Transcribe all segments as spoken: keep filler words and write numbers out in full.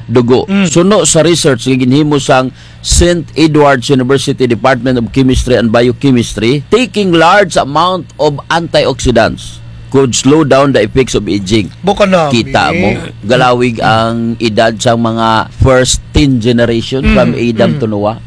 dugo. Mm. Suno sa research nga ginhimo sang Saint Edward's University Department of Chemistry and Biochemistry, taking large amount of antioxidants could slow down the effects of aging. Bukan na, Kita eh. mo, galawig ang edad sang mga first ten generation from Mm, Adam mm. to Noah.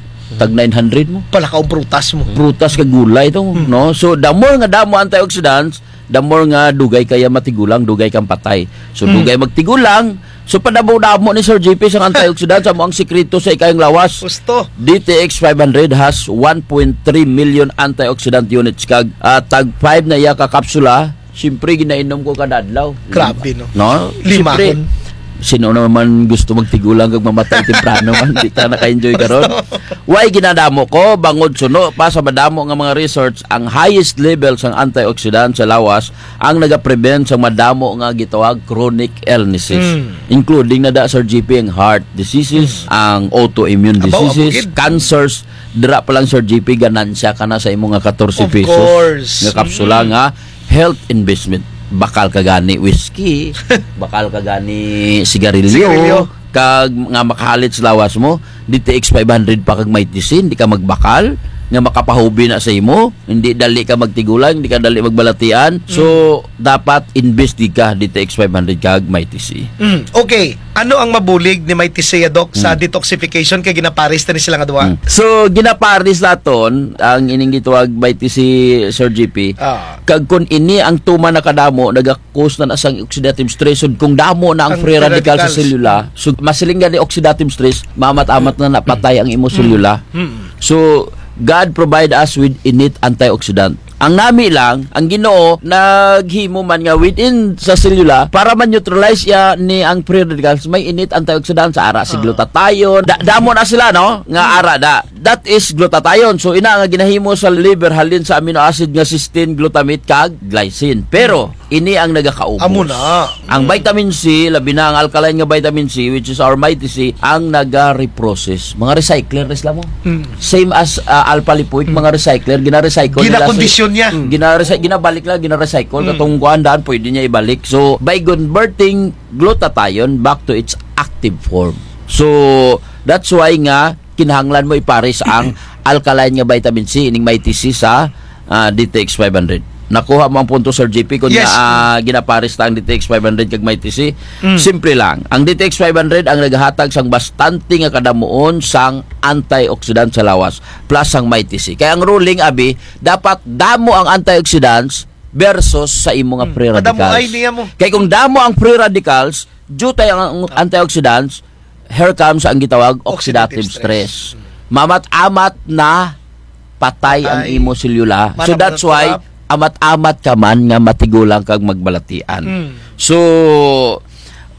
Tag nine hundred mo. Palakaw ang prutas mo. Prutas kag gulay to, Mm. no? So, the more nga damo antioxidants, the more nga dugay kaya matigulang, dugay kang patay. So, Mm. dugay magtigulang. So, padamo-damo ni Sir G P sang antioxidants, amo ang sikreto sa ikayong lawas. Husto. D T X five hundred has one point three million antioxidant units kag, ah, tag five na iya ka kapsula. Siyempre, ginainom ko kada adlaw. Grabe, no? No? Limahon. Siyempre, sino naman gusto magtigulang kag mamatay temprano man? Di ka naka-enjoy karon. Why ginadamo ko? Bangod suno pa sa madamo nga mga research, ang highest level sang antioxidant sa lawas ang nagaprevent sa madamo nga gitawag chronic illnesses. Mm. Including na da, Sir G P, ang heart diseases, Mm. ang autoimmune Abaw, diseases, abugid. cancers. Dira pa lang, Sir G P, ganansya ka na sa imo nga katorse Of pesos course. nga kapsula Mm. nga health investment. Bakal ka gani whiskey, bakal ka gani sigarilyo, Sigarilyo. kag nga makahalit sa lawas mo, D T X five hundred pa kag Mighty C, di ka magbakal, nga makapahubi na sa imo, hindi dali ka magtigulang, hindi ka dali magbalatian. So, Mm. dapat invest di ka, D T X five hundred kag Mighty C. Mm, okay. Ano ang mabulig ni Mighty C, Doc, sa Mm. detoxification kay ginapares ta ni sila nga duha? Mm. So, ginapares naton ang ining gitawag Mighty C, Sir G P. Ah. Kag kun ini ang tuman na kadamo, naga-cause na na sang oxidative stress. So, kung damo na ang Ang free free radical sa radicals. selula, so, masiling gani oxidative stress, maamat-amat na napatay ang imo Mm. selula. Mm. So, God provide us with innate antioxidant. Ang nami lang, ang Ginoo, naghimo man nga within sa selula, para ma-neutralize iya ni ang free radicals, may innate antioxidant sa ara si Ah. glutathione. Da-, damo na sila, no? Nga Hmm. ara da. That is glutathione. So, ina nga ginahimo sa liver, halin sa amino acid nga cysteine, glutamate, kag glycine. Pero, ini ang nagakaubos. Amo na. Ang Mm. vitamin C, labi na ang alkaline nga vitamin C, which is our Mighty C, ang naga-reprocess. Mga recycler na sila mo. Mm. Same as, ah, alpha lipoic, Mm. mga recycler, gina-recycle nila sa Ginakondisyon niya. Mm. Gina-recy-, ginabalik lang, gina-recycle. Mm. Katong kuan daan, pwede niya ibalik. So, by converting glutathione back to its active form. So, that's why nga, kinahanglan mo ipares ang alkaline nga vitamin C, ining Mighty C sa, ah, D T X five hundred. Nakuha mo ang punto, Sir G P, kung Yes. na, ah, ginapares ta ang D T X five hundred kag Mighty C? Mm. Simple lang. Ang D T X five hundred ang nagahatag sang bastante nga kadamuon sang antioxidant sa lawas, plus sang Mighty C. Kaya ang ruling, abi, dapat damo ang antioxidants versus sa imo nga Mm. free Padamuhay radicals. niya mo. Kay kung damo ang free radicals, due tay ang, ang Ah. antioxidants, here comes ang gitawag Oxidative oxidative stress. stress. Maamat-amat na patay ang Patay. imo selula. So Mana that's why, corrupt. amat-amat ka man nga matigulang kag magbalatian. Mm. So,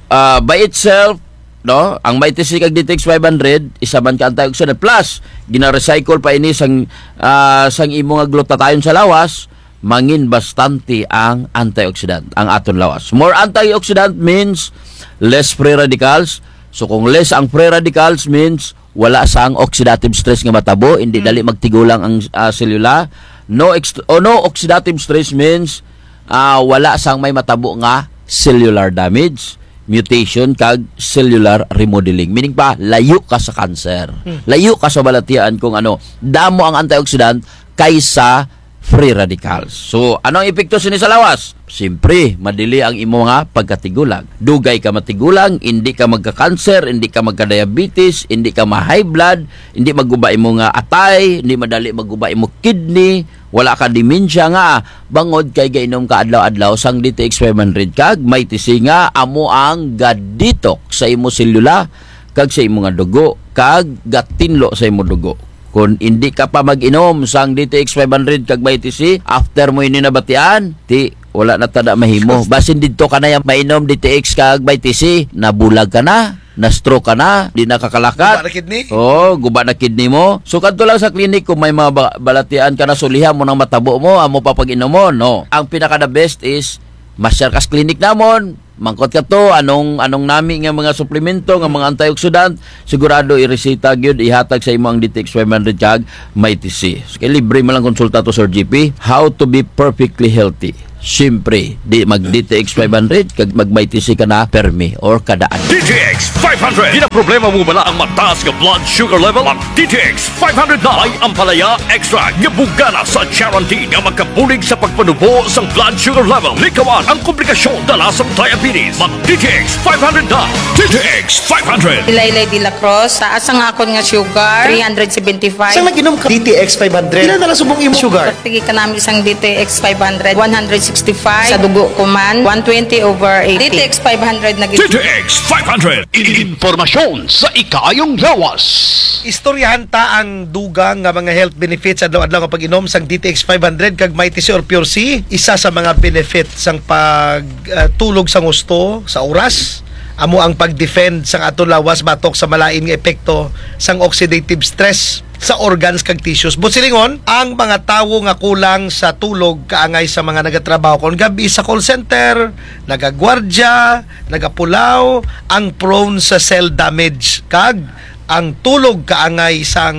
ah, by itself, no, ang Mighty C kag D T X five hundred, isa man ka antioxidant. Plus, gina-recycle pa ini sang, ah, sang imo nga glutathione sa lawas, mangin bastante ang antioxidant, ang aton lawas. More antioxidant means less free radicals. So, kung less ang free radicals means wala sang oxidative stress nga matabo, hindi Mm. dali magtigulang ang, ah, selula. No ex-, o no oxidative stress means, ah, wala sang may matabo nga cellular damage, mutation, kag cellular remodeling. Meaning pa, layo ka sa cancer. Mm. Layo ka sa balatian kung ano. Damo ang antioxidant kaysa free radicals. So, ano ang epekto sini sa lawas? Siyempre, madili ang imo nga pagkatigulang. Dugay ka matigulang, hindi ka magka-cancer, hindi ka magka-diabetes, hindi ka ma-high blood, hindi maguba imo nga atay, hindi madali maguba imo kidney, wala ka dementia nga, bangod kay gainom ka adlaw-adlaw sang D T X five hundred kag Mighty C nga amo ang ga-detox sa imo selula, kag sa imo nga dugo, kag gatinlo sa imo dugo. Kon indi ka pa mag-inom sang D T X five hundred kag Mighty C, after mo ini nabatian, ti, wala na tada mahimo. Basin didto ka na ya mainom D T X kag Mighty C, nabulag ka na, na-stroke ka na, di na kakalakat. Guba na kidney? Oo, guba na kidney mo. So, kadto lang sa clinic kung may mga ba-, balatian ka na sulihan mo nang matabo mo, amo pa pag-inom mo, no. Ang pinaka the best is, masyar ka sa clinic namon, mangkot ka to, anong, anong nami nga mga suplemento, nga mga antioxidant, sigurado ireseta gyud, ihatag sa imo ang D T X five hundred kag Mighty C. So, kay libre man lang konsulta to, Sir G P. How to be perfectly healthy. Siyempre, di mag D T X five hundred, kag mag Mighty C ka na permi or kadaan. D T X five hundred. Ginaproblema mo bala ang mataas nga blood sugar level? Mag D T X five hundred na. May ampalaya extract nga bugana sa charantin nga makabulig sa pagpanubo sang blood sugar level. Likawan ang komplikasyon dala sang diabetes. Mag D T X five hundred na. D T X five hundred. Ilaylay de la Cruz, taas ang akon nga sugar, three hundred seventy-five. Sa nag-inom ka D T X five hundred, pila na lang subong imong sugar? Sige kanami sang D T X five hundred, one hundred sixty-five. Sa dugo ko man, one twenty over eighty. D T X five hundred na gid. D T X five hundred. Impormasyon sa ikaayong lawas. Istoryahan ta ang dugang nga mga health benefits adlaw-adlaw nga pag-inom sang D T X five hundred kag Mighty C or Pure C. Isa sa mga benefit sang pag, ah, tulog sang husto sa oras, amo ang pag-defend sang aton lawas batok sa malain nga epekto sang oxidative stress sa organs kag tissues. Buot silingon, ang mga tawo nga kulang sa tulog kaangay sa mga nagatrabaho kon gab-i sa call center, nagagwardya, nagapulaw, ang prone sa cell damage kag ang tulog kaangay sang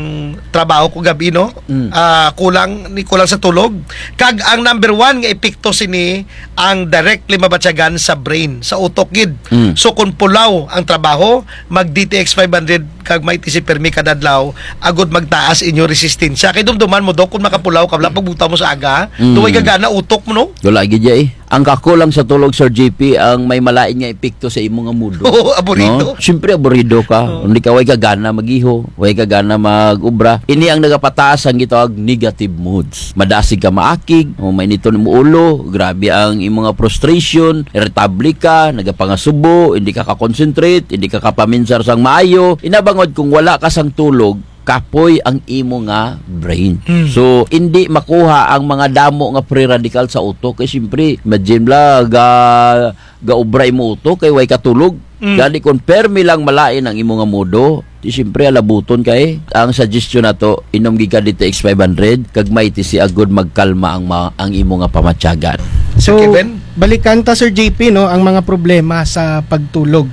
trabaho kon gab-i, no? Mm. Ah, kulang, ni kulang sa tulog. Kag ang number one nga epekto sini ang directly mabatyagan sa brain, sa utok gid. Mm. So, kon pulaw ang trabaho, mag D T X five hundred kag Mighty C permi kada adlaw, agud magtaas inyo resistensya. Kay dumduman mo, Dok, kon makapulaw ka, wala pagbugtaw mo sa aga, mm, daw way gagana utok mo, no? Wala gid dya, eh. Ang kakulang sa tulog, Sir J P, ang may malain nga epekto sa imo nga mood. Oo, aburido. No? Siyempre, aburido ka. Oo. Hindi ka, way ka gana mag-iho, way ka gana mag-obra. Ini ang nagapataas ang gitawag negative moods. Madasig ka maakig, o mainiton imo ulo, grabe ang imo nga frustration, irritable ka, nagapangasubo, hindi ka ka-concentrate, hindi ka kapaminsar sang maayo. Ina bangod kung wala ka sang tulog, kapoy ang imo nga brain. Mm. So, indi makuha ang mga damo nga free radical sa utok. Kay siyempre, imagine la, ga-, gaobra imo utok, kay way ka tulog. Mm. Gani kon permi lang malain ang imo nga mood, ti siyempre alabuton ka, eh. Ang suggestion nato, inom gid ka D T X five hundred, kag Mighty C agud magkalma ang ma-, ang imo nga pamatyagan. So, Kevin? Balikan ta, Sir J P, no, ang mga problema sa pagtulog.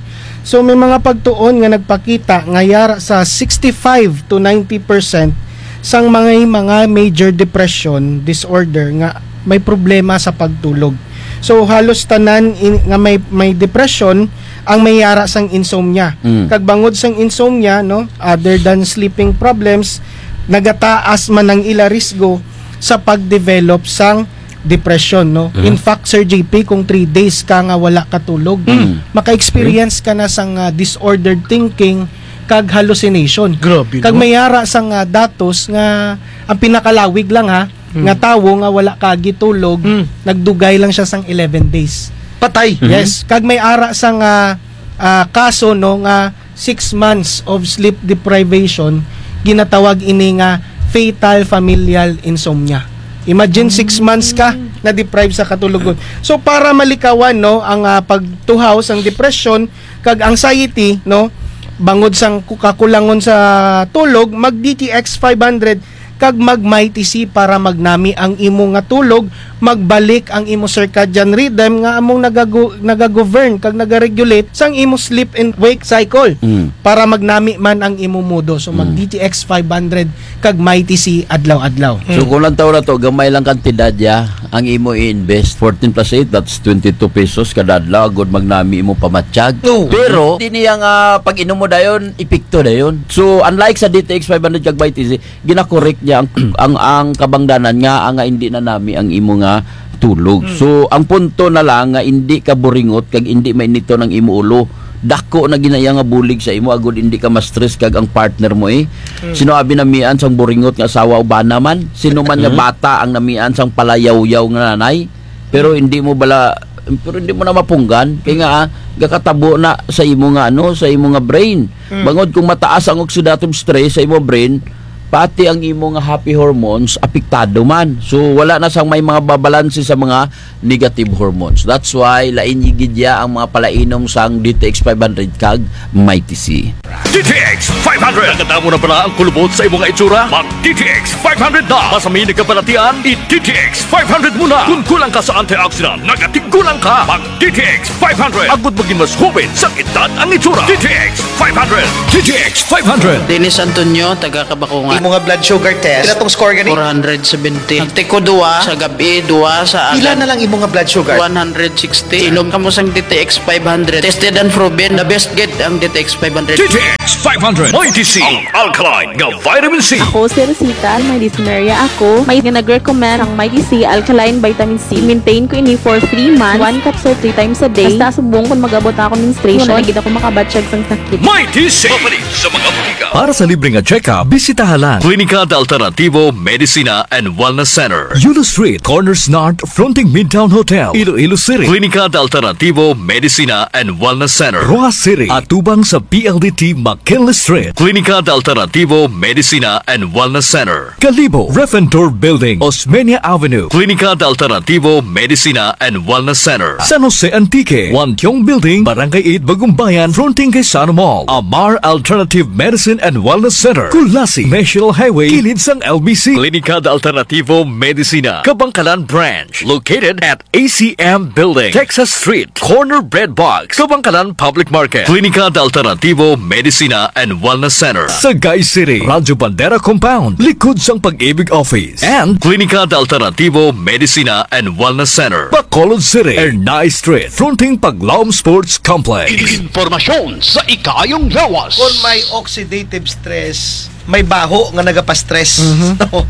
So, may mga pagtuon nga nagpakita nga yara sa sixty-five to ninety percent sang mga, mga major depression disorder nga may problema sa pagtulog. So, halos tanan in-, nga may, may depression ang may yara sang insomnia. Mm. Kag bangod sang insomnia, no, other than sleeping problems, nagataas man ang ila risgo sa pag-develop sang depression, no? Mhm. In fact, Sir J P, kung three days ka nga wala ka tulog, mm, maka-experience ka na sang, ah, disordered thinking kag hallucination. Grabe, no? Kag may ara sang, ah, datos nga ang pinakalawig lang, ha, mm, nga tawo nga wala ka gitulog, mm, nagdugay lang siya sang eleven days. Patay? Mhm. Yes. Kag may ara sang, ah, ah, kaso, no, nga six months of sleep deprivation, ginatawag ini nga fatal familial insomnia. Imagine, six months ka na-deprive sa katulogon. So, para malikawan, no, ang, ah, pagtuhaw sang depression kag anxiety, no, bangod sang ku-, kakulangon sa tulog, mag D T X five hundred kag mag Mighty C para magnami ang imo nga tulog, magbalik ang imo circadian rhythm nga among nagago-, nagagovern kag nagaregulate sang imo sleep and wake cycle, mm, para magnami man ang imo mood. So, mag, mm, D T X five hundred kag Mighty C adlaw-adlaw. So, mm, kung lantaw nato, gamay lang kantidad ya ang imo i-invest. Fourteen plus eight, that's twenty-two pesos kada adlaw, agud magnami imo pamatyag. Oo. Pero, di niya nga pag-inom mo dayon, epekto dayon. So, unlike sa D T X five hundred kag Mighty C, gina-correct niya ang, ang, ang kabangdanan nga, nga indi nanami ang imo nga tulog. Hmm. So, ang punto na lang nga indi ka buringot kag indi mainiton ang imo ulo. Dako na gid na iya nga bulig sa imo, agud indi ka ma-stress kag ang partner mo, eh. Hmm. Sin-o abi namian sang buringot nga asawa o bana man? Sin-o man nga, hmm, bata ang namian sang palayawyaw nga nanay? Pero hindi mo bala, pero hindi mo na mapunggan. Kay nga, ah, gakatabo na sa imo nga, ano, sa imo nga brain. Mm. Bangod kung mataas ang oxidative stress sa imo brain, pati ang imo nga happy hormones, apektado man. So, wala na sang may mga babalanse sa mga negative hormones. That's why, lain gid ya ang mga palainom sang D T X five hundred kag Mighty C. D T X five hundred. Nakatamo na bala ang kulubot sa imo nga itsura? Mag D T X five hundred na. Basta may nagkabalatian, i-D T X five hundred mo na. Kung kulang ka sa antioxidant, nagatigulang ka. Mag D T X five hundred. Agud maging mas hubin sang edad ang itsura. D T X five hundred. D T X five hundred. Dennis Antonio, taga Kabakungan. Mga blood sugar test. Pila tong score gani? Four hundred seventy. Nagtiko duwa sa gab-i, duwa sa agahon. Pila na lang imo nga blood sugar? One hundred sixty. Inom kamo sang D T X five hundred. Tested and proven. The best gid ang D T X five hundred. D T X five hundred. Mighty C, ang alkaline nga vitamin C. Ako si Rosita, may dysmenorrhea ako. May nga nag-recommend ang Mighty C alkaline vitamin C. Maintain ko ini for three months. One capsule three times a day. Hasta subong kon mag-abot ako menstruation, wala na gid ako makabatyag sang sakit. Mighty C. Mapalit sa mga butika. Para sa libre nga check-up, bisitaha lang Klinika de Alternativo Medicina and Wellness Center, Yulo Street, Corners North, fronting Midtown Hotel, Iloilo City. Klinika de Alternativo Medicina and Wellness Center, Roxas City, atubang sa P L D T McKinley Street. Klinika de Alternativo Medicina and Wellness Center, Kalibo, Refentor Building, Osmeña Avenue. Klinika de Alternativo Medicina and Wellness Center, San Jose Antique, Wantiong Building, Barangay eight, Bagumbayan, fronting kay Sano Mall. Amar Alternative Medicine and Wellness Center, Culasi, National Highway, kilid sang L B C. Klinika de Alternativo Medicina, Kabangkalan Branch, located at A C M Building, Texas Street, corner Bread Box, Kabangkalan Public Market. Klinika de Alternativo Medicina and Wellness Center, Sagay City, Radyo Bandera Compound, likod sang Pag-ibig Office. And Klinika de Alternativo Medicina and Wellness Center, Bacolod City, Ernai Street, fronting Paglaom Sports Complex. Impormasyon sa ikaayong lawas. Kon may oxidative stress, may baho nga nagapastress. Mhm. No?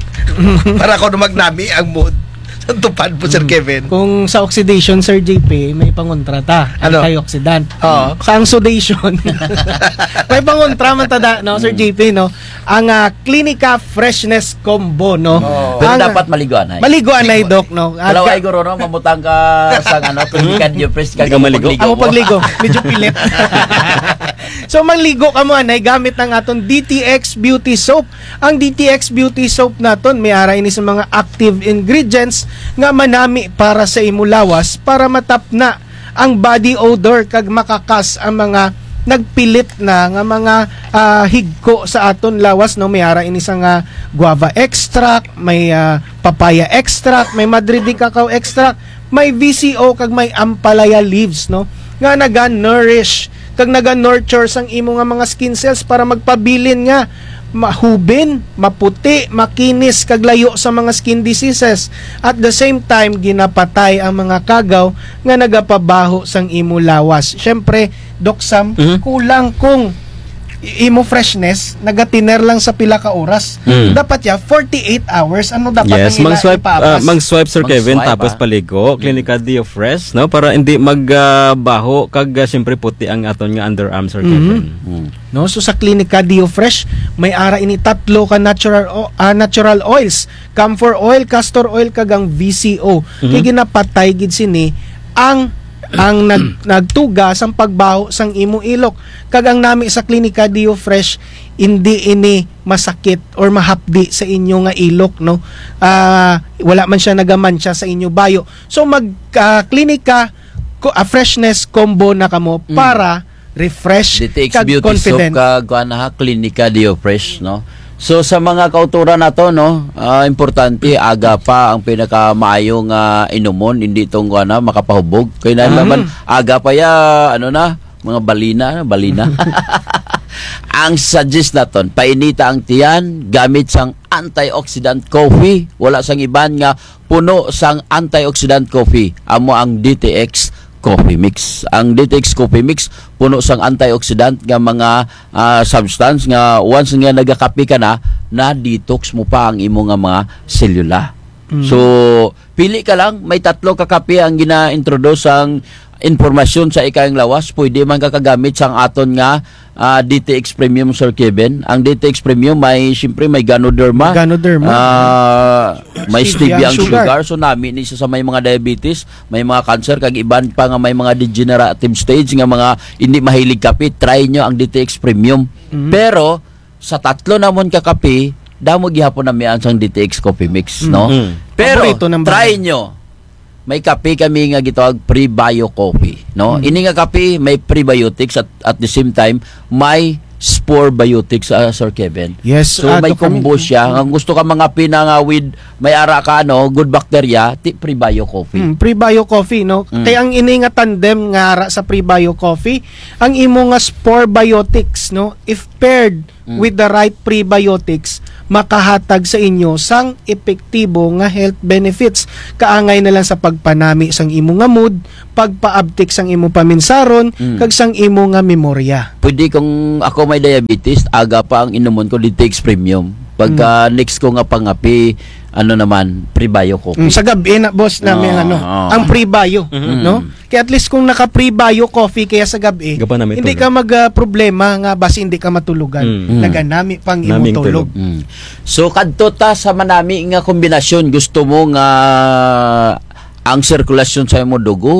Para kon magnami ang mood. Sa tupad mo, Sir Mm. Kevin. Kung sa oxidation, Sir J P, may pangontra ta. Ano? Antioxidant. Oo. Sa ang sudation, may pangontra man ta da, no, Sir Mm. J P, no? Ang, ah, Klinika Freshness Combo, no? Oo. Pero Ang, dapat maligo anay. Maligo anay, Maligo Doc, anay. no? Kalaw Aga- ay guro, no? Mamutang ka sa, ano, Klinika Diofresh, Hindi ka maligo. Amo pagligo. Medyo pilit. So, maligo kamo anay gamit ang aton D T X Beauty Soap. Ang D T X Beauty Soap naton, may ara ini sa mga active ingredients nga manami para sa imo lawas para matapna ang body odor kag makakas ang mga nagpilit na nga mga, ah, higko sa aton lawas, no? May ara ini sa nga guava extract, may, ah, papaya extract, may Madre de Cacao extract, may V C O kag may ampalaya leaves, no? Nga naga-nourish kag naga-nurture sang imo nga mga skin cells para magpabilin nga mahubin, maputi, makinis, kag layo sa mga skin diseases. At the same time, ginapatay ang mga kagaw nga nagapabaho sang imo lawas. Syempre, Doc Sam, Mhm. kulang kung i-, imo freshness, nagatiner lang sa pila ka oras. Mm. Dapat ya, forty-eight hours. Ano dapat Yes, ang ila-, mang-swipe, ah, ipaapas? Mang-swipe, Sir Kevin, Mang-swipe, tapos ah. paligo. Mm. Klinika Diofresh, no? Para hindi mag, ah, baho, kag, ah, siyempre puti ang aton nga underarm, Sir Mhm. Kevin. Mm. No, so sa Klinika Diofresh, may ara ini tatlo ka natural o-, ah, natural oils, camphor oil, castor oil, kag ang V C O. Mhm. Kay ginapatay gid sini ang, ang nag-, nagtuga sang pagbaho sang imo ilok. Kag ang nami sa Klinika Diofresh, hindi ini masakit or mahapdi sa inyo nga ilok, no? Ah, wala man siya nagamantsa sa inyo bayo. So, mag, ah, Klinika, ko-, ah, Freshness Combo na kamo Mm. para refresh D T X kag Beauty Soap confident. Kag kuan ha, Klinika Diofresh, no? So, sa mga kauturan nato, no, ah, importante, aga pa ang pinakamaayo nga inumon, hindi tong kuan ha, makapahubog. Kay na Mm. naman, aga pa ya, ano na, mga balina, balina. Ang suggest naton, painita ang tiyan, gamit sang antioxidant coffee, wala sang iban nga puno sang antioxidant coffee, amo ang D T X Coffee Mix. Ang D T X Coffee Mix, puno sang antioxidant nga mga, ah, substance nga once nga nagakape ka na, na-detox mo pa ang imo nga mga selula. Mm. So, pili ka lang, may tatlo ka kape ang gina-introduce ang impormasyon sa ikaayong lawas. Pwede man ka kagamit sang aton nga, ah, D T X Premium, Sir Kevin. Ang D T X Premium may, siyempre, may Ganoderma. Ganoderma. Ah, may Stevia stevia ang sugar. sugar. So, nami ni siya sa may mga diabetes, may mga cancer, kag iban pa nga may mga degenerative stage nga mga hindi mahilig kape. Try nyo ang D T X Premium. Mhm. Pero, sa tatlo namon ka kape, damo gihapon namian sang D T X Coffee Mix, no? Mm. Pero, Paborito ng try bayan. nyo. May kape kami nga gitawag prebio coffee, no? Mm. Ini nga kape may prebiotics at, at the same time may spore biotics, ah, Sir Kevin. Yes, So, ah, may Doc combo Camille. siya. Ang gusto ka mga pina nga with, may ara ka, ano, good bacteria, ti prebio coffee. Mm, prebio coffee, no? Mm. Kaya ang ini nga tandem nga ara sa prebio coffee, ang imo nga spore biotics, no? If paired Mm. with the right prebiotics, makahatag sa inyo sang epektibo nga health benefits. Kaangay na lang sa pagpanami sang imo nga mood, pagpaabtik sang imo paminsaron, Mm. kag sang imo nga memorya. Pwede kung ako may diabetes, aga pa ang inumon ko D T X Premium. Pagka Mm. next ko nga pangape, ano naman, Prebio Coffee. Mm, sa gab-i na, boss, nami ang Oo, ano, oo. ang Prebio, Mhm. no? Mm. Kaya at least kung naka-Prebio Coffee kaya sa gab-i, Gapanami hindi tulog. ka mag, ah, problema nga basi hindi ka matulugan. Mm. Mm. Naganami pang Naming imong tulog. tulog. Mm. So, kadto ta sa manami nga kombinasyon, gusto mo nga ang sirkulasyon sa imong dugo,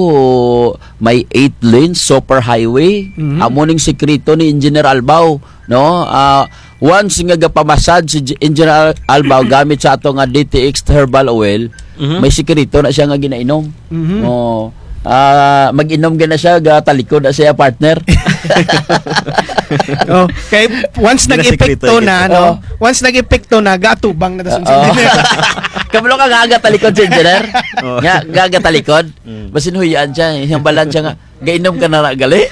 may eight lanes, super highway. Mhm. Amo ning sikreto ni Engineer Albao, no? Ah, once nga gapamassage si J-, Engineer Al-, Albao gamit sa ato nga D T X herbal oil, Mhm. may sikreto na siya nga ginainom. Mhm. Oh, ah, mag-inom gid na siya, gatalikod na siya, partner. Oh, kay once Ginasikreto nag-epekto na, gid. no? Oh. Once nag-epekto na, gatubang na ta sa Oo. Engineer. Kabalo ka nga, gatalikod si Engineer. Oo. Nga, gatalikod. Mm. Basin huyaan siya, iyang balan siya nga, "Gainom ka na na gali."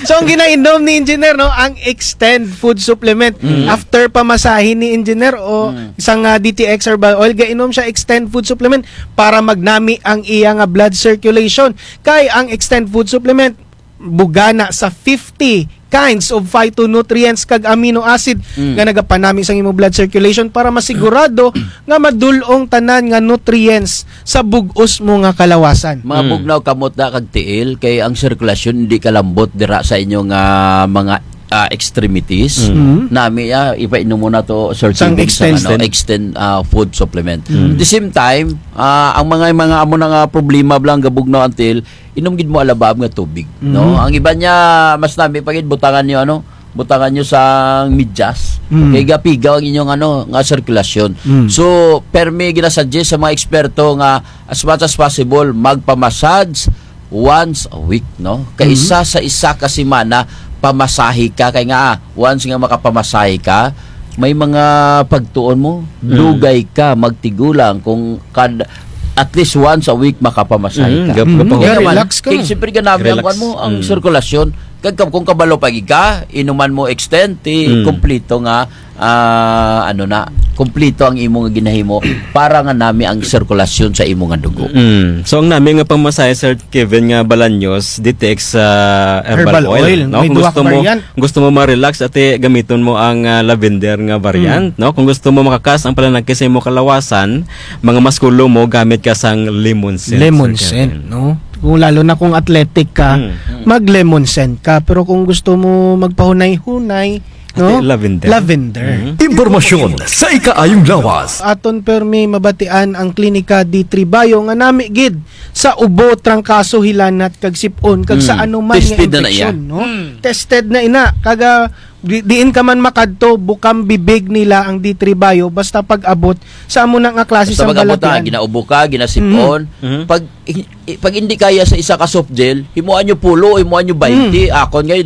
So, ang ginainom ni Engineer, no, ang Extend Food Supplement. Mm. After pamasahe ni Engineer o Mm. isang, ah, D T X herbal oil, gainom siya Extend Food Supplement para magnami ang iya nga blood circulation. Kay ang Extend Food Supplement, bugana sa fifty kinds of phytonutrients kag amino acid Mm. nga nagapanami sa imong blood circulation para masigurado nga madul-ong tanan nga nutrients sa bug-os mo nga kalawasan. Mga Mm. bugnaw, kamot na kag tiil, kay ang sirkulasyon hindi kalambot dira sa inyo nga mga, ah, extremities. Mm. Mm. Nami, ah, ipainom mo na to, Sir Sang Kevin, sa Extend. ano, Extend, ah, food supplement. Mm. At the same time, ah, ang mga, mga amo na nga problema bala nga gabugnaw ang tiil, inom gid mo alabaab nga tubig, no? Mhm. Ang iba niya, mas nami pa gid, butangan niyo, ano, butangan niyo sang medyas. Mm. Kay gapigaw ang inyong, ano, nga sirkulasyon. Mm. So, permi ginasuggest sa mga eksperto nga as much as possible, magpamassage once a week, no? Kay Mhm. isa sa isa ka semana, pamasahe ka. Kay nga, ah, once nga makapamasahe ka, may mga pagtuon mo, Mm. dugay ka magtigulang kung kad-, at least once a week makapamasahe Mm, ka. gap-, Mm, gapahulog. Kaya naman, relax ka. Kay siyempre ganami ang Relax. kuwan mo, ang Mm. sirkulasyon. Kag kung kabalo pa gid ka, inuman mo Extend, ti Mm. kumplito nga, ah, ano na, kumplito ang imo nga ginahimo para nga nami ang sirkulasyon sa imo nga dugo. Mm. So, ang nami nga pamasahe, Sir Kevin, nga Balaños, D T X, ah, herbal Herbal oil, oil. no? May Kung duha gusto ka mo, variant. gusto mo ma-relax, ati gamiton mo ang, ah, lavender nga variant, Mm. no? Kung gusto mo makakas ang pananakit sa imo kalawasan, mga maskulo mo, gamit ka sang lemon scent, Lemon Sir scent, Kevin. no? Kung lalo na kung athletic ka, Mm. mag-lemon scent ka. Pero kung gusto mo magpahunay-hunay, Ati no? lavender. Lavender. Mm. Impormasyon sa ikaayong lawas. Aton permi mabatian ang Klinika D three Bio nga nami gid sa ubo, trangkaso, hilanat, kag sip-on, kag sa Mm. anuman nga Tested na na iya. infeksyon, no? Mm. Tested na ina. Kag, ah, di-, diin ka man makadto, bukang bibig nila ang D three Bio, basta pag-abot sa amo na nga klase Basta sang pag-abot na, balatian. ginaubo ka, ginasip-on. Mhm. Mhm. Pag, i-, i-, pag hindi kaya sa isa ka soft gel, himuan nyo pulo, himuan nyo baynte. Mhm. Akon ngay,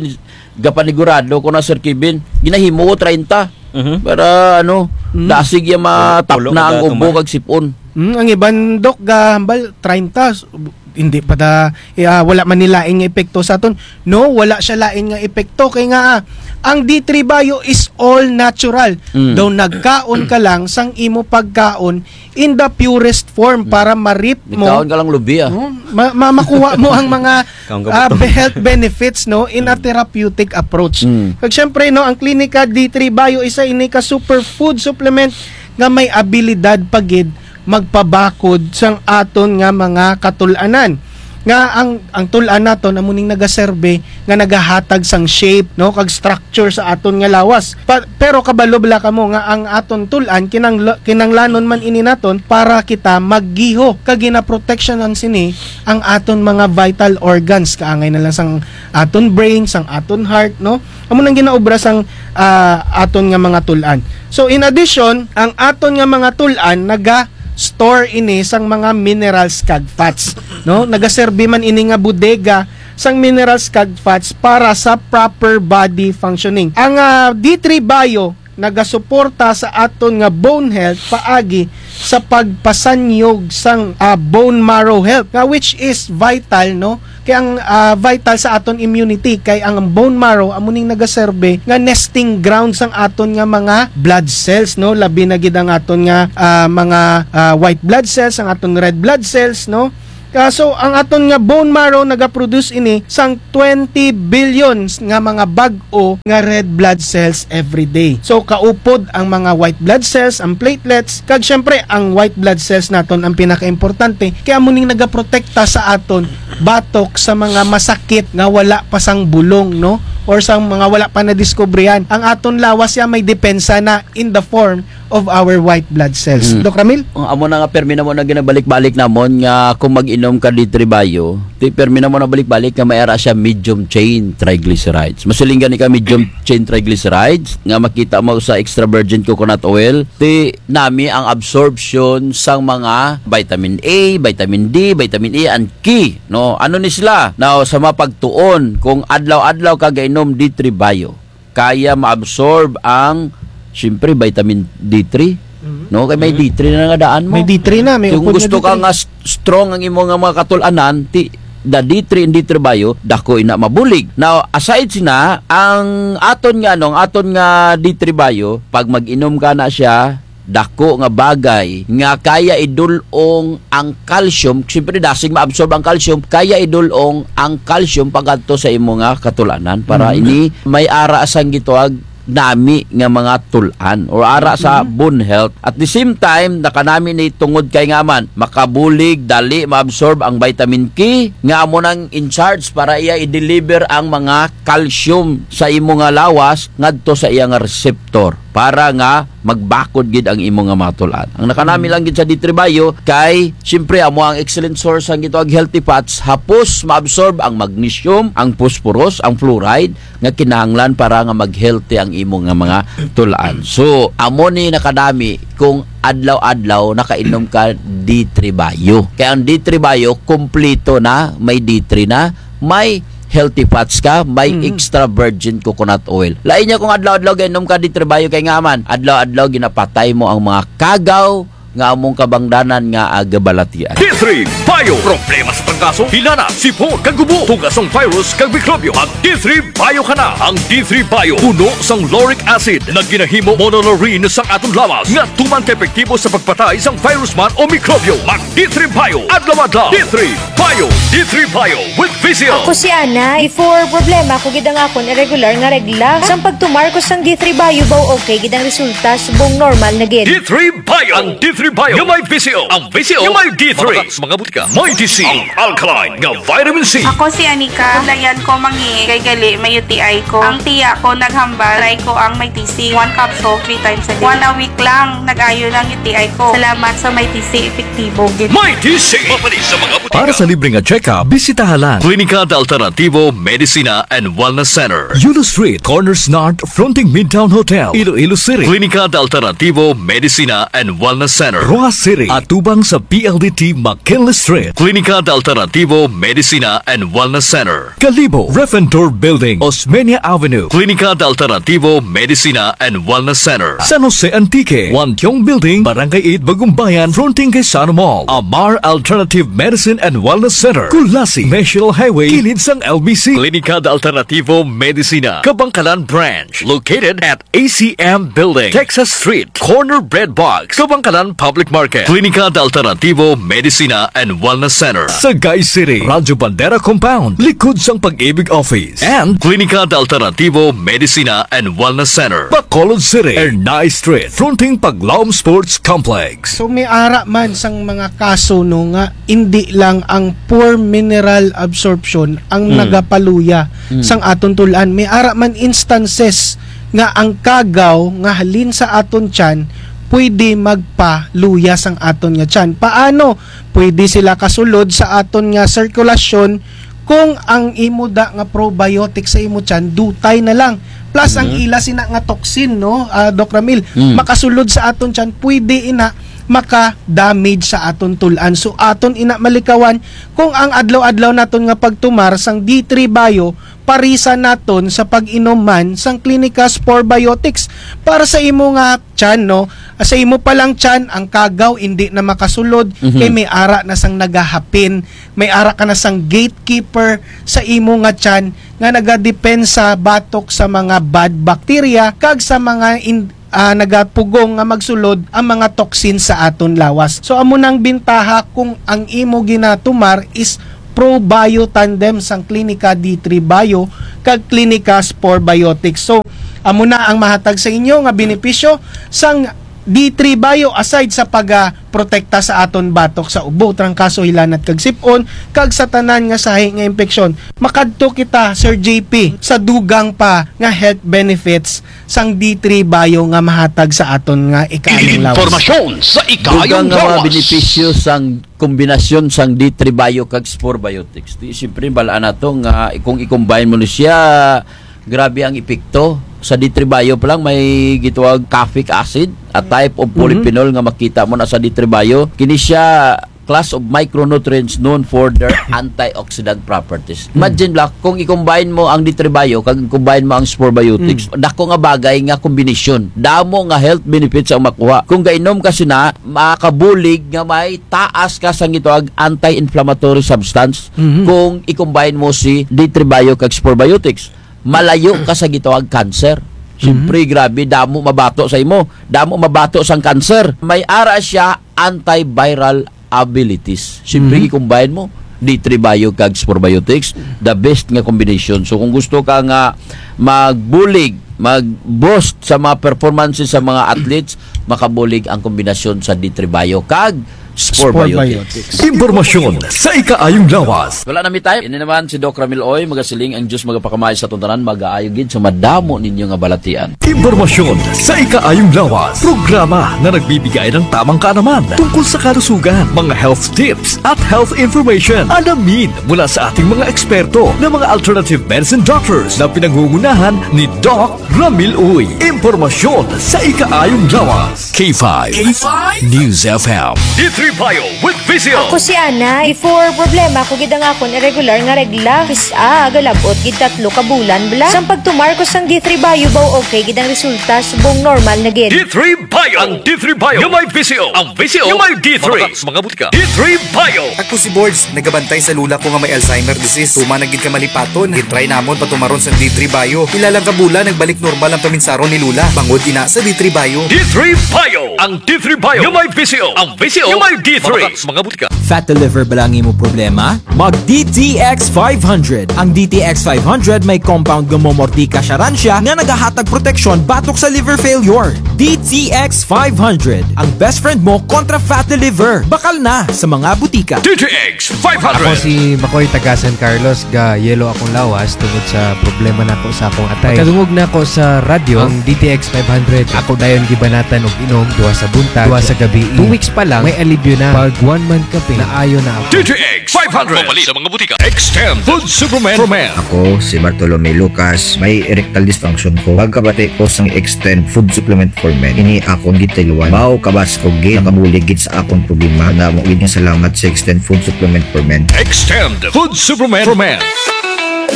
gapanigurado ko na, Sir Kevin, ginahimo ko treinta. Mhm. Para, ano, Mhm. dasig ya Pulo, matapna pulo ang kada ubo tuman. kag sip-on. Mm, ang iban, Dok, gahambal, treinta, s-, hindi pa ta, eh, ah, wala man ni lain nga epekto sa aton. No, wala siya lain nga epekto. Kay nga, ah, ang D three Bio is all natural. Mm. Daw nagkaon ka lang sang imo pagkaon in the purest form Mm. para ma-reap mo. Nagkaon ka lang lubi, ah. No? Ma-, ma-, makuha mo ang mga, Kaon ka ah, buto. be-, health benefits, no, in a Mm. therapeutic approach. Mm. Kag syempre, no, ang Klinika D three Bio, isa ini ka superfood supplement nga may abilidad pa gid magpabakod sang aton nga mga katul-anan. Nga ang, ang tul-an naton amo ning nagaserbi nga nagahatag sang shape, no, kag structure sa aton nga lawas. Pa-, pero kabalo bala kamo nga ang aton tul-an kinangla-, kinanglanon man ini naton para kita maggiho kag ginaproteksyonan sini ang aton mga vital organs, kaangay na lang sang aton brain, sang aton heart, no? Amo nang ginaobra sang, ah, aton nga mga tul-an. So, in addition, ang aton nga mga tul-an naga-store ini sang mga minerals kag fats, no? Nagaserbi man ini nga bodega sang minerals kag fats para sa proper body functioning. Ang, ah, D three Bio nagasuporta sa aton nga bone health paagi sa pagpasanyog sang, ah, bone marrow health, nga which is vital, no, Kay ang, ah, vital sa aton immunity, kay ang bone marrow, amo ning nagaserbi nga nesting ground sang aton nga mga blood cells, no? Labi na gid ang aton nga, ah, mga, ah, white blood cells, ang aton red blood cells, no? Ah, so, ang aton nga bone marrow nagaproduce ini sang twenty billions nga mga bag-o nga red blood cells every day. So, kaupod ang mga white blood cells, ang platelets, kag syempre, ang white blood cells naton ang pinakaimportante, kay amo ning nagaprotekta sa aton batok sa mga masakit nga wala pa sang bulong, no? Or sa mga wala pa nadiskubrihan. Ang aton lawas ya may depensa na in the form of our white blood cells. Mm. Doc Ramil? Ang amo na nga permi namo na ginabalik-balik namon nga kung mag-inom ka D three Bio, ti permi namo na balik-balik nga may ara siya medium chain triglycerides. Masiling gani ka medium chain triglycerides nga makita mo sa extra virgin coconut oil, ti nami ang absorption sang mga vitamin A, vitamin D, vitamin E, and K, no? Ano ni sila? Now, sa mapagtuon, kung adlaw-adlaw ka gainom D three Bio, kaya maabsorb ang, siyempre, vitamin D three. Mhm. No? Kay may Mhm. D three na nga daan mo. May D three na, may Kung upod nga gusto ka D three. nga s-, strong ang imo nga mga katul-anan, ti, the D three and D three Bio, dako ina mabulig. Now, aside sina, ang aton nga, ano, ang aton nga D three Bio, pag mag-inom ka na siya, dako nga bagay nga kaya idul-ong ang calcium, siyempre dasig maabsorb ang calcium, kaya idul-ong ang calcium pagadto sa imo nga katul-anan para Mhm. ini may ara sang gitawag nami nga mga tul-an or ara sa Mhm. bone health. At the same time, nakanami ni tungod kay nga man, makabulig, dali maabsorb ang vitamin K, nga amo nang in charge para iya i-deliver ang mga calcium sa imo nga lawas ngadto sa iya nga receptor para nga magbakod gid ang imo nga mga tul-an. Ang nakanami lang gid sa D three Bio kay, siyempre, amo ang excellent source ang gitawag healthy fats, hapos maabsorb ang magnesium, ang phosphorus, ang fluoride nga kinahanglan para nga mag-healthy ang imo nga mga tul-an. So, amo ni nakanami kung adlaw-adlaw nakainom ka D three Bio. Kay ang D three Bio, kumplito na, may D three na, may healthy fats ka, may Mhm. extra virgin coconut oil. Lain niya kung adlaw-adlaw gainom ka D three Bio kay nga man, adlaw-adlaw ginapatay mo ang mga kagaw nga among kabangdanan nga agabalatian. D three Bio. Problema sa trangkaso, hilanat, sipon, kag ubo, tuga sang virus kag mikrobyo. Mag D three Bio ka na. Ang D three Bio, puno sang lauric acid na ginahimo monolaurin sang aton lawas nga tuman ka epektibo sa pagpatay sang virus man o mikrobyo. Mag D three Bio, adlaw-adlaw. D three Bio, D three Bio with V C O. Ako si Ana. Before, problema ko gid ang akon irregular nga regla. Sang pagtumar ko sang D three Bio, baw okay gid ang resulta, subong normal na gid. D three Bio. Ang D three Bio nga may V C O. Ang V C O nga may D three. Mapatak sa mga butika. May D C. Ang alkaline nga vitamin C. Ako si Anika. Layan ko mangi kay gali may U T I ko. Ang tiya ko naghambal, try ko ang may D C. One capsule, three times a day. One a week lang, nag-ayo lang U T I ko. Salamat sa may D C, epektibo gid. May D C. Mapalis sa mga butika. Para sa libre nga check-up, bisitaha lang Klinika de Alternativo Medicina and Wellness Center. Yulo Street, corners North, fronting Midtown Hotel, Iloilo City. Klinika de Alternativo Medicina and Wellness Center. Roxas City, atubang sa P L D T McKinley Street. Klinika de Alternativo Medicina and Wellness Center. Kalibo, Ref and Tour Building, Osmeña Avenue. Klinika de Alternativo Medicina and Wellness Center. San Jose Antique, Wantiong Building, Barangay eight, Bagumbayan, fronting kay Sano Mall. Amar Alternative Medicine and Wellness Center, Culasi, National Highway, kilid sang L B C. Klinika de Alternativo Medicina, Kabankalan Branch, located at A C M Building, Texas Street, corner Bread Box, Kabankalan Public Market. Klinika de Alternativo Medicina and Wellness Center. Sagay City, Radyo Bandera Compound, likod sang Pag-ibig Office. And Klinika de Alternativo Medicina and Wellness Center, Bacolod City, Ernai Street, fronting Paglaom Sports Complex. So, may ara man sang mga kaso, no, nga indi lang ang poor mineral absorption ang Mm. nagapaluya Mm. sang aton tul-an. May ara man instances nga ang kagaw nga halin sa aton tiyan pwede magpaluya sang aton nga tiyan. Paano? Pwede sila kasulod sa aton nga sirkulasyon kung ang imo da nga probiotic sa imo tiyan, dutay na lang. Plus, ang Mhm. ila sina nga toxin, no, ah, Doc Ramil, Mm. makasulod sa aton tiyan, pwede ina maka-damage sa aton tul-an. So, aton ina malikawan kung ang adlaw-adlaw naton nga pagtumar sang D three Bio, parisan naton sa pag-inom man sang Clinicas Probiotics para sa imo nga tiyan, no? Sa imo pa lang tiyan, ang kagaw indi na makasulod, Mhm. kay may ara na sang nagahapin, may ara ka na sang gatekeeper sa imo nga tiyan nga nagadepensa batok sa mga bad bacteria kag sa mga in-, ah, nagapugong nga magsulod ang mga toxin sa aton lawas. So, amo nang bintaha kung ang imo ginatumar is Pro Bio Tandem sang Klinika D three Bio kag Klinika Spore Biotics. So, amo na ang mahatag sa inyo nga benepisyo sang D three Bio, aside sa pagaprotekta sa aton batok sa ubo, trangkaso, hilanat kag sip-on, kag sa tanan nga sahi nga impeksyon. Makadto kita, Sir J P, sa dugang pa nga health benefits sang D three Bio nga mahatag sa aton nga ikaayong lawas. Impormasyon sa ikaayong Dugang nga mga lawas. benepisyo sang kombinasyon sang D three Bio kag Spore Biotics. Ti, siyempre, bal-an nato nga kung i-combine mo ni siya, grabe ang epekto. Sa D three Bio pa lang may gitawag caffeic acid, a type of Mhm. polyphenol nga makita mo na sa D three Bio. Kini siya class of micronutrients known for their antioxidant properties. Mhm. Imagine lang, kung i-combine mo ang D three Bio, kag i-combine mo ang Spore Biotics, Mhm. dako nga bagay nga kombinasyon. Damo nga health benefits ang makuha. Kung gainom ka sina, makabulig nga may taas ka sang gitawag anti-inflammatory substance Mhm. kung i-combine mo si D three Bio kag Spore Biotics. Malayo ka sa gitawag cancer. Siyempre, Mhm. grabe, damo mabato sa imo. Damo mabato sang cancer. May ara siya antiviral abilities. Siyempre, Mhm. i-combine mo, D three Bio kag Spore Biotics, the best nga combination. So, kung gusto ka nga magbulig, mag-boost sa mga performances sa mga athletes, makabulig ang kombinasyon sa D three Bio kag Spore Spore Biotics. Biotics. Impormasyon sa ikaayong lawas. Wala na mi time. Ini naman si Doc Ramil Uy, magasiling ang Diyos magapakamay sa atong tanan, magaayo gid sa madamo ninyo nga balatian. Impormasyon sa ikaayong lawas. Programa na nagbibigay ng tamang kaalaman tungkol sa kalusugan, mga health tips at health information. Alamin mula sa ating mga eksperto na mga alternative medicine doctors na pinangungunahan ni Doc Ramil Uy. Impormasyon sa ikaayong lawas. K five K five News F M. D three Bio with Visio. Ako si Ana. Before, problema ko gid ang akon irregular nga regla. Kis-a, galab-ot gid tatlo ka bulan bala. Sang pagtumar ko sang D three Bio, baw okay gid ang resulta, subong normal na gid. D three Bio. Ang D three Bio nga may Visio. Ang Visio nga may D three. Mabakal sa mga butika. D three Bio. Ako si Borge, nagabantay sa lola ko nga may Alzheimer disease. Tuman na gid ka malipaton. Gin-try namon patumaron sang D three Bio. Pila lang ka bulan, nagbalik normal ang paminsaron ni lola. Bangod ina sa D three Bio. D three Bio. Ang D three Bio nga may Visio. Ang Visio nga may D three. Mabakal sa mga butika. Fatty liver bala ang imo problema? Mag D T X five hundred. Ang D T X five hundred may compound nga momortika siya ran siya nga nagahatag proteksyon batok sa liver failure. D T X five hundred, ang best friend mo kontra fatty liver. Bakal na sa mga butika. D T X five hundred. Ako si Makoy, taga San Carlos, ga-yellow akong lawas tungod sa problema nako sa akong atay. Pagkadungog nako sa radyo, ang D T X five hundred, ako dayon gibanatan og inom, duha sa buntag, duha sa gabii. Two weeks pa lang, may alibyo na. Pag one month ka pin, naayo na ako. D T X five hundred. Mapalit sa mga butika. Extend Food Supplement for Men. Ako si Bartolome Lucas, may erectile dysfunction ko. Pagkabati ko sang Extend Food Supplement for Men, ini akon gitiluan. Baw kabas ko gid, nakabulig gid sa akon problema. Damo gid nga salamat sa Extend Food Supplement for Men. Extend Food Supplement for Men.